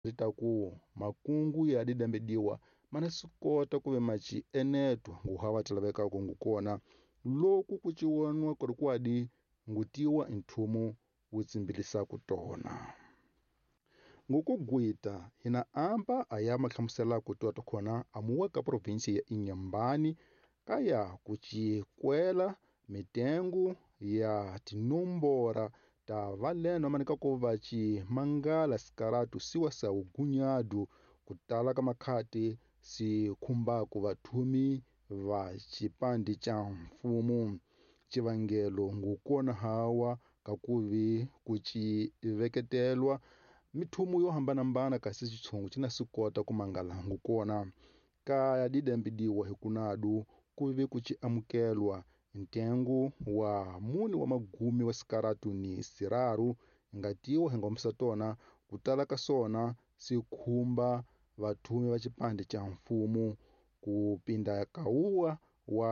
Ta ku makungu ya didembediwa mana swi kota ku ve maci eneto nguhava ti lavekaka ngukona loku ku ciwonwa ku ri kwadi ngutiwa nthumu wu tsimbilisaka tona. Ngukugwita hina amba aya mahlamusela ku tiwa khona amuwa ka provinsi ya Inhambane kaya ku cikwela mitengo ya tinombora ta valeno manika ku va ci mangala sikaratu siwa sa ugunyadu kutala ka makhati si khumbaku vathumi va xipandi xa mfumo. Xivangelo ngukona hawa kakuvi ku ci veketelwa mithumu yo hambanahambana kasi xitshungu xi na swi kota ku mangala ngukona ka didembidiwa hi kunadu ku ve ku ci amukelwa ntengo wa mune wa magumi wa sikaratu ni siraru ngatiwa hi ngomisa tona kutala ka swona swi khumba vathumi va xipandi xa mfumo ku pinda kawuwa wa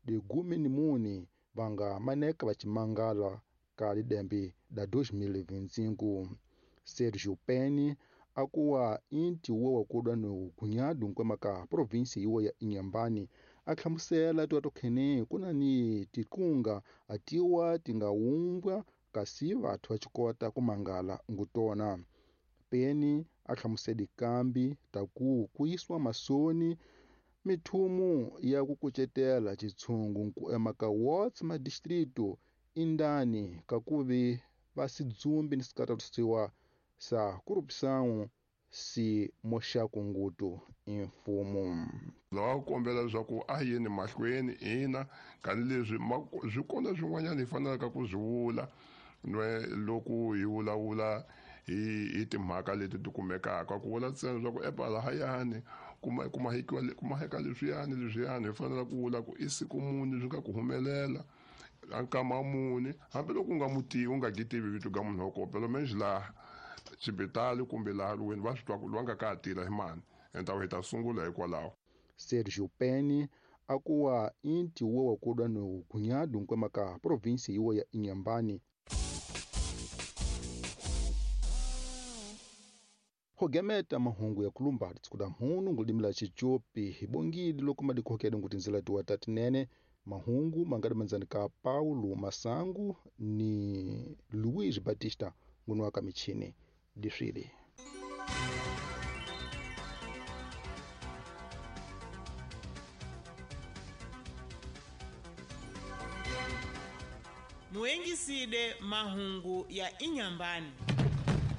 digumi ni mune va nga maneka va ximangala ka lidembe da 2025. Sergio Penny akuwa inti wo wa kudwa ni gunyadu nkwema ka provinsi yiwo ya Inhambane a hlamusela tiwa to khene kuna ni tikunga atiwa tingawumbwa kasi vathu va xikota ku mangala ngutona. Penny a hlamusela kambi ta ku ku yisiwa masoni mithumu ya ku kucetela xitshungu ku ema ka wards ma distrito indani kakuvi va sidzumbi ni sikaratusiwa sa corrupção si moxaku ngutu imfumo. Lava kombela leswaku a yeni mahlweni ina kanileswi swi kona swin'wanyana hi fanelaka ku swi vula loko hi vulavula hi timhaka leti ti kumekaka ku vula ntsena leswaku epalahayani kumaheka leswiyani leswiyani hi fanele ku vula ku i siku muni swi nga ku humelela nkama muni hambiloko u nga mutivi u nga gitivi vito ga munhu wa kona menje laha xibitali kumbe laha lweni va swi twa ku loyi nga ka tila hi mani enta hi ta sungula hikwalaho. Sergio Penny akuwa inti wo wa kudwa ni gunyadu nkwema ka provinsi yiwo ya Inhambane. Hogemeta mahungu ya kulumba tikuda mhunu ngulimla chichopi hibongili loko madikohokede ngutinzela tiwa tatinene mahungu mangadi manzani ka Paulo Masangu ni Luiz Batista ngunuwaka michini diswili. Muengiside mahungu ya Inhambane.